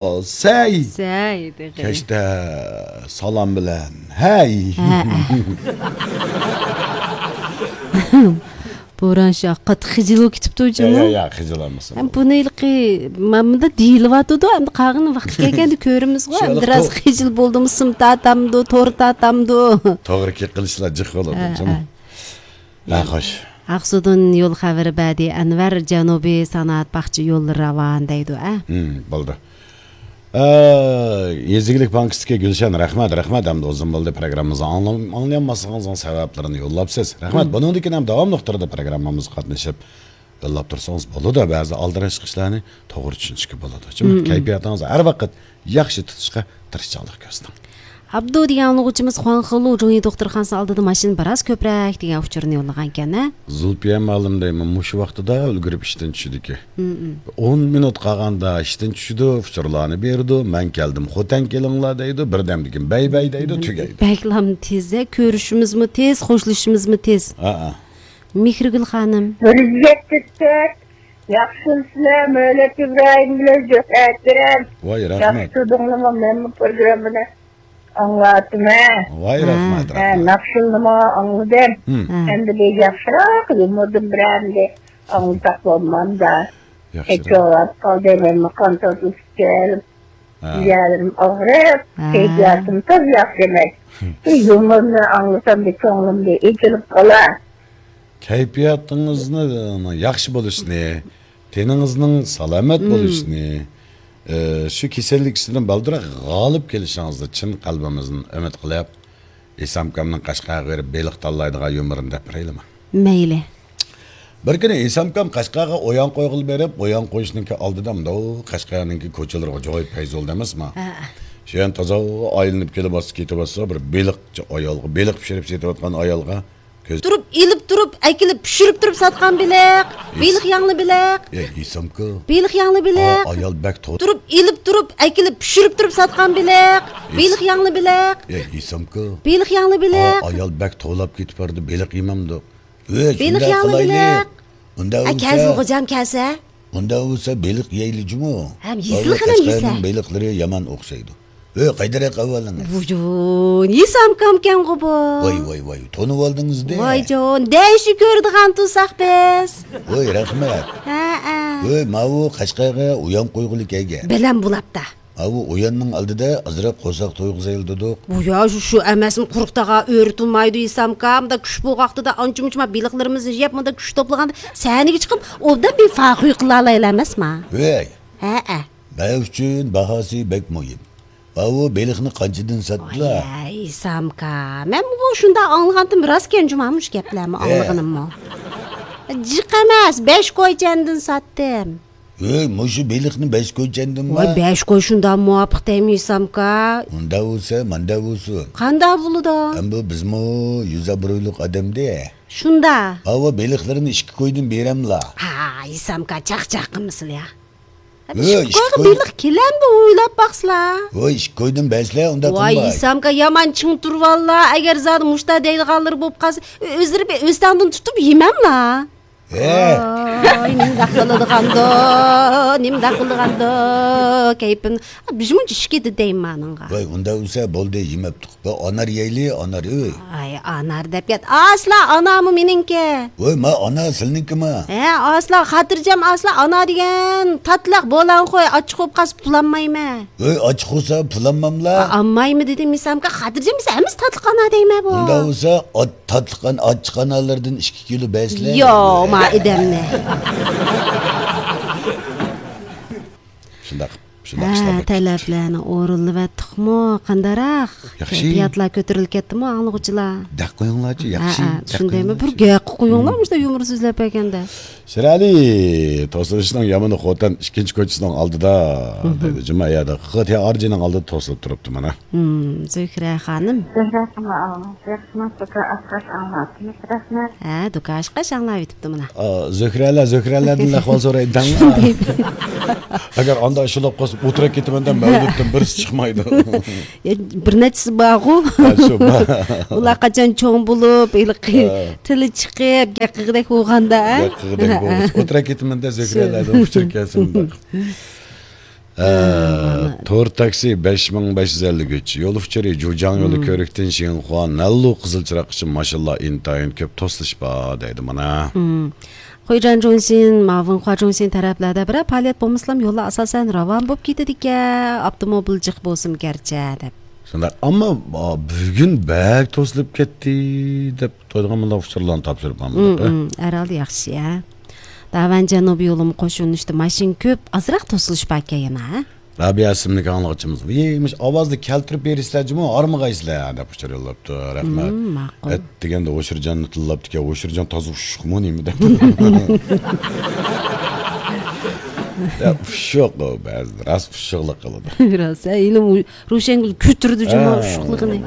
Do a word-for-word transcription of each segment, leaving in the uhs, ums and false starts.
سەي! سەي، تېخى. كەچتە سالام بىلەن ھەي! ھە، ھە. بوران شۇ قاتتىق خىجىل بولۇپ كېتىپتۇ يا، جۇمۇ. يا، يا، خىجىل ئالمىسۇن. ھەم بۇنى ھېلىقى مانا مۇنداق دېيىلىۋاتىدۇ، ئەمدى قالغان ۋاقىت كەلگەندە كۆرىمىزغۇ، شۇ ئەمدى راست تو-، خىجىل بولدىمۇ، سىم تارتامدۇ، تور تارتامدۇ. توغرا قىلىشلار جىق بولىدۇ، ھە، جۇمۇ. ھە. ھە، خوش. ئاقسۇدىن يول خەۋىرى بەردى ئەنۋەر، جەنۇبىي سانائەت باغچە يوللىرى راۋان دەيدۇ، ئە. ھىم، بولدى. ئە، يېزا ئىگىلىك بانكىسىدىكى گۈلشەن، رەھمەت، رەھمەت. ئەمدى ئۇزۇن بولدى پروگراممىمىزنى ئاڭلام-، ئاڭلىيالماسلىقىڭىزنىڭ سەۋەبلىرىنى يوللاپسىز. رەھمەت. ھىم. بۇنىڭدىن كېيىن ھەم داۋاملىق تۈردە پروگراممىمىزغا قاتنىشىپ يوللاپ تۇرسىڭىز بولىدۇ. بەزى ئالدىراش ئىشلارنى توغرا چۈشىنىشكە بولىدۇ. ھىم، ھىم. كەيپىياتىڭىزنى ھەر ۋاقىت ياخشى تۇتۇشقا تىرىشچانلىق كۆرسىتىڭ. ئابدۇ دېگەن ئاڭلىغۇچىمىز خۇاڭخېلۇ جۇڭيى دوختۇرخانىسى ئالدىدا ماشىنا بىراز كۆپرەك دېگەن ئۇچۇرنى يوللىغانىكەن، ھە؟ زۇلپىيە مۇئەللىم دەيمەن، مۇشۇ ۋاقتىدا ئۈلگۈرۈپ ئىشتىن چۈشىدىكەن. ھىم، ھىم. ئون مىنۇت قالغاندا ئىشتىن چۈشىدۇ، ئۇچۇرلارنى بېرىدۇ، مەن كەلدىم، خوتەن كېلىڭلار دەيدۇ، بىردەمدىن كېيىن بەي بەي دەيدۇ، تۈگەيدۇ. بەكلام تېز، ھە، كۆرۈشىمىزمۇ تېز، خوشلىشىشىمىزمۇ تېز. ھە، ھە. مېھرىگۈل خانىم. بىر يۈز يەتتە تۆت. ياخشىمۇسىلەر؟ مۆلەت ئىبراھىم بىلەن زۆھرە ئەكرەم. ۋاي، رەھمەت. ياخشى تۇردۇڭلارمۇ؟ مەنمۇ پروگراممىنى ئاڭلاۋاتىمەن. ۋاي، ھە. رەھمەت، ھە، رەھمەت. ناخشىلىنىمۇ ئاڭلىدىم. ھىم. ھە. ئەمدى بىر ياخشىراق يۇمۇردىن بىرەرنى ئاڭلىساق بولمامدا؟ ياخشىراق. كەچ بولۇپ قالدى، مەنمۇ قان تارتىۋېتىپ كەلدىم. ھە. يەرلىرىم ئاغرىپ، ھە. كەيپىياتىم تازا ياخشى ئەمەس. ھىم. بىر يۇمۇرنى ئاڭلىسام بىر كۆڭلۈم بىر ئېچىلىپ قالار. كەيپىياتىڭىزنى ياخشى بولۇشىنى، تېنىڭىزنىڭ سالامەت مم. بولۇشىنى، ئى، شۇ كېسەللىك ئۈستىدىن بالدۇرراق غالىب كېلىشىڭىزنى چىن قەلبىمىزدىن ئۈمىد قىلىپ، ئىسامكامنىڭ قەشقەرگە بېرىپ بېلىق تاللايدىغان يۇمۇرىنى دەپ بېرەيلىمۇ؟ مەيلى. بىر كۈنى ئىسامكام قەشقەرگە ئويۇن قويغىلى بېرىپ، ئويۇن قويۇشنىڭكى ئالدىدا مۇنداق قەشقەرنىڭكى كوچىلىرىغا جۇغاي پەيزولدا ئەمەسما؟ ھە. شۇ يەرنى تازا ئايلىنىپ كېلىۋاتسا، كېتىۋاتسا، بىر بېلىقچى ئايالغا، بېلىق پىشۇرۇپ سېتىۋاتقان ئايالغا كۆز تۇرۇپ، ئېلىپ تۇرۇپ، ئەكېلىپ، پىشۇرۇپ تۇرۇپ ساتقان بېلىق. ئىس-، بېلىق ياڭلى بېلىق. ئەي، ئىسامكا. بېلىق ياڭلى بېلىق. ئا-، ئايال بەك تو-، تۇرۇپ، ئېلىپ تۇرۇپ، ئەكېلىپ، پىشۇرۇپ تۇرۇپ ساتقان بېلىق. ئىس-، بېلىق ياڭلى بېلىق. ئەي، ئىسامكا. بېلىق ياڭلى بېلىق. ئا-، ئايال بەك توۋلاپ كېتىپ بارىدۇ، بېلىق يېمەمدۇق. ئۆي، بېلىق شۇنداق ياڭلى قىلايلى. بېلىق. ئۇنداق ئە، بولسا كەلسۇن خوجام، كەلسە. ئۇنداق بولسا بېلىق يەيلى جۇمۇ. ھەم يېزىلغىنىم يېسە. بەلگىلەشكەننىڭ بېلىقلىرى يامان ئوخشايدۇ. ئۆي، قايدىرەك ئەھۋالىڭىز؟ ۋۇجۇن، يېسامكامكەنغۇ بۇ. ۋاي، ۋاي، ۋاي، تونۇۋالدىڭىز دە. ۋايجان، دەشۇ كۆرىدىغان تۇرساق بىز. ۋاي، رەھمەت. ھە، ھە. ۋاي، ماۋۇ قەشقەرگە ئويان قويغىلى كەلگەن. بىلەم بۇلاپتا. ماۋۇ ئوياننىڭ ئالدىدا ئازراق قورساق تويغۇزايلى دېدۇق. بۇ يا، شۇ، شۇ ئەمەسمۇ، قۇرۇق تاغا ئۆرە تۇرمايدۇ يېسامكا. مۇندا كۈش بولغان ۋاقتىدا ئانچە-مۇنچە ما بېلىقلىرىمىزنى يەپ، مۇندا كۈچ توپلىغاندا سەھنىگە چىقىپ، ئوبدان بىر فاخۇي قىلالايلى ئەمەسما؟ ۋاي. ھە، ھە. مەن ئۈچۈن باھاسى بەك مۇھىم. ماۋۇ بېلىقنى قانچىدىن ساتتىلا؟ ۋاي، سامكا. مەنمۇ شۇنداق ئاڭلىغانتىم، راستكەن جۇما مۇشۇ گەپلەرمۇ، ھە. ئاڭلىغىنىممۇ. جىق ئەمەس، بەش كويچەندىن ساتتىم. ۋاي، مۇشۇ بېلىقنى بەش كويچەندىنمۇ؟ ۋاي، بەش كوي شۇنداق مۇۋاپىق دەيمۇ، سامكا؟ ئۇنداق بولسا، مانداق بولسۇن. قانداق بولىدۇ؟ ئەمدى بىزمۇ يۈز ئابرۇيلۇق ئادەمدە. شۇنداق. ماۋۇ بېلىقلىرىنى ئىككى كويدىن بېرەملا؟ ھاي، سامكا، چاقچاق قىلمىسىلا يا. ھە، ئىككى كويغا بېلىق كېلەمدۇ ئويلاپ باقسىلا. ۋاي، ئىككى كويدىن بەرسىلە، ئۇنداق قىلماي. ۋاي، ئىسامكا، يامان چىڭ تۇرۇۋاللا. ئەگەر زادى مۇشتا دەيدىغانلىرى بولۇپ قالسا، ئۆزلىرى بىر ئۆستەڭدىن تۇتۇپ يېمەملا. ھە. ۋاي، نېمىنداق قىلىدىغاندۇ، نېمىنداق قىلىدىغاندۇ، كەيپىم. بىر مۇنچە ئىچكىدە دەيمەن ئانىڭغا. ۋاي، ئۇنداق بولسا بولدى، يېمەپتۇق. بىر ئانار يەيلى، ئانار، ئۆي. ئاي، ئانار دەپ يات. ئاسلا، ئانارمۇ مېنىڭكى. ۋاي، ما ئانار سىلنىڭكىما؟ ھە، ئاسلا، خاتىرجەم ئاسلا، ئانار دېگەن تاتلىق بولان قوي، ئاچچىق بولۇپ قالسا پۇلانمايمەن. ۋاي، ئاچچىق بولسا پۇلانماملا. ئا، ئالمايمەن دېدىم، مىسامكا، خاتىرجەم بولسا ھەممىسى تاتلىق ئانار دەيمەن بۇ. ئۇنداق بولسا، ئات-، تاتلىق ئان-، ئاچچىق ئانارلاردىن ئىككى كىلو بەرسىلە. يو، ما ئادەمنى. شۇنداق. شۇنداق ھە، ئىشلار بولۇپ كېتىپتۇ. تەلەپلەرنى ئورۇنلىۋەتتۇقمۇ؟ قانداقراق؟ ياخشى. كەيپىياتلار كۆتۈرۈلۈپ كەتتىمۇ، ئاڭلىغۇچىلار؟ دەق قويۇڭلارچۇ، ھە، ياخشى، ھە، دەق شۇندايمۇ؟ بىر قويۇڭلارچۇ. گەپ قويۇڭلار، مم. مۇشۇنداق يۇمۇرسىز سۆزلەپ بەرگەندە. شىرئەلى، توسۇلۇشنىڭ يامىنى خوتەن ئىككىنچى كوچىسىنىڭ ئالدىدا، مم. دەيدۇ. جۇما يەردە خىتىيارجىنىڭ ئالدىدا توسۇلۇپ تۇرۇپتۇ مانا. مم، زۆھرە خانىم. زۆھرە خانىم، ياخشىمۇ؟ سۇكا ئاسقاش ئاڭلاۋاتىمىز، رەھمەت. ھە، دۇكاشقا شاڭلاۋېتىپتۇ مانا. ئا، زۆھرەلەر، زۆھرەلەردىن ئەھۋال سورايدۇ دەڭلار. ئەگەر ئاندا ئىش بولۇپ قالسا، ئولتۇرۇپ كېتىمەن دەپ مەۋلۇتتىن بىرسى چىقمايدۇ. يا، بىر نەچچىسى بارغۇ. ھە، شۇ بار. ئۇلار قاچان چوڭ بولۇپ، ھېلىقى ھە. تىلى چىقىپ، گەپ قىلغۇدەك بولغاندا، ھە؟ گەپ قىلغۇدەك ھە، بولغۇچە. ھە. ئولتۇرۇپ كېتىمەن دەپ، شۇ. زۆھرەلەردىن ئۇچۇر كەلسە مۇنداق. ھە، ھە، مانا. تور تاكسى بەش مىڭ بەش يۈز ئەللىك ئۈچ، يول ئۇچۇرى جۇجاڭ يولى، مم، كۆۋرۈكتىن شىنخۇا، نەنلۇ قىزىل چىراغقىچە ماشىنىلار ئىنتايىن كۆپ توسۇلۇش بار دەيدۇ مانا. مم. خۇيجان جۇڭشىن، ماۋۇن خۇا جۇڭشىن تەرەپلەردە بىرەر پائالىيەت بولمىسىلا يوللار ئاساسەن راۋان بولۇپ كېتىدىكەن، ئاپتوموبىل جىق بولسىمۇ گەرچە دەپ. شۇنداق، ئەمما، ئا، بۈگۈن بەك توسۇلۇپ كەتتى دەپ تويدىغان مۇنداق ئۇچۇرلارنى تاپشۇرۇپ ماڭدۇق، مم، ھە؟ مم، ھەرھالدا ياخشى، ھە. داۋەن جەنۇبىي يولىمۇ قوشۇلۇشتا ماشىنا كۆپ، ئازراق توسۇلۇش باركەن يەنە، ھە؟ رابىيە ئىسىملىك ئاڭلىغۇچىمىز، ۋىي، مۇشۇ ئاۋازنى كەلتۈرۈپ بېرىسىلەر جۇمۇ، ھارمىغايسىلەر دەپ ئۇچۇر يوللاپتۇ. رەھمەت. مم، ماقۇل. ئەت دېگەندە ھوشۇرجاننى تىللاپتىكەن، ھوشۇرجان تازا ئۇششۇقمۇ نېمە دەپ. يا، ئۇششۇق ئۇ بەزىدە، راست ئۇششۇقلۇق قىلىدۇ. راست، ھە، ھېلىمۇ روشەنگۈل كۆتۈردى جۇمۇ، ھە، ئۇششۇقلۇقىنى.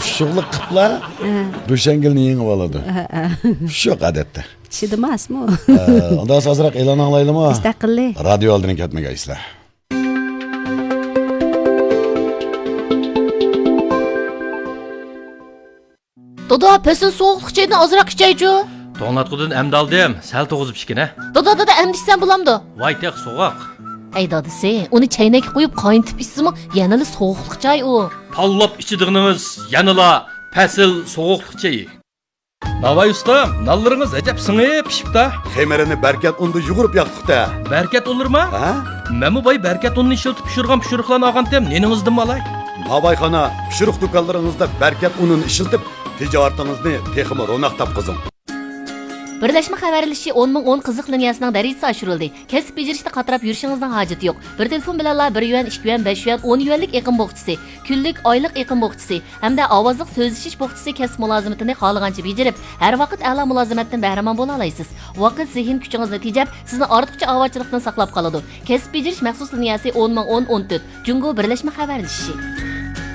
ئۇششۇقلۇق قىپلا، ھە، روشەنگۈلنى يېڭىۋالىدۇ. ھە، ھە. ئۇششۇق ئادەتتە. چىدىماسمۇ؟ ھە، ئۇنداق ئازراق ئېلان ئاڭلايلىمۇ؟ مۇستەقىللىق. رادىيو ئالدىدىن كەتمىگەيسىلەر. دادا، پەسىل سوغۇقلۇق چايدىن ئازراق ئىچەيچۇ. توڭلاتقۇدىن ئەمدى ئالدىم، سەل توغۇزۇپ ئىچكىنە. دادا، دادا، ئەمدى ئىچسەم بولامدۇ؟ ۋاي، تېخى سوغۇق. ئەي دادىسى، ئۇنى چەينەككە قۇيۇپ قاينىتىپ ئىچسىمۇ يەنىلا سوغۇقلۇق چاي ئۇ. تاللاپ ئىچىدىغىنىڭىز يەنىلا پەسىل سوغۇقلۇق چېيى. ناۋاي ئۇستام، نانلىرىڭىز ئەجەب سىڭىپ پىشىپتا. خېمىرىنى بەركەت ئۇندا يۇغۇرۇپ ياقتۇق-تە. بەركەت ئۇنلىرىما؟ ھە؟ مەنمۇ باي بەركەت ئۇنىنى ئىشلىتىپ پىشۇرغان پىشۇرۇقلارنى ئالغانتىم، نېنىڭىزدىنمۇ ئالاي؟ ناۋايخانا پىشۇرۇق دۇكانلىرىڭىزدا بەركەت ئۇنىنى ئىشلىتىپ، تىجارىتىڭىزنى تېخىمۇ روناق تاپقۇزۇڭ. بىرلەشمە خەۋەرلىشىشى ئون مىڭ ئون قىزىق لىنىيەسىنىڭ دەرىجىسى ئاشۇرۇلدى. كەسىپ بېجىرىشتە قاتراپ يۈرۈشىڭىزنىڭ ھاجىتى يوق. بىر تېلېفون بىلەنلا بىر يۈەن، ئىككى يۈەن، بەش يۈەن، ئون يۈەنلىك ئېقىم بوخچىسى، كۈنلۈك، ئايلىق ئېقىم بوخچىسى، ھەمدە ئاۋازلىق سۆزلىشىش بوخچىسى كەسىپ مۇلازىمىتىنى خالىغانچە بېجىرىپ، ھەر ۋاقىت ئەلا مۇلازىمەتتىن بەھرىمەن بولالايسىز. ۋاقىت، زېھىن كۈچىڭىزنى تېجەپ، سىزنى ئارتۇقچە ئاۋارىچىلىقتىن ساقلاپ قالىدۇ. كەسىپ بېجىرىش مەخسۇس لىنىيەسى ئون مىڭ ئون ئون تۆت، جۇڭگو بىرلەشمە خەۋەرلىشىشى.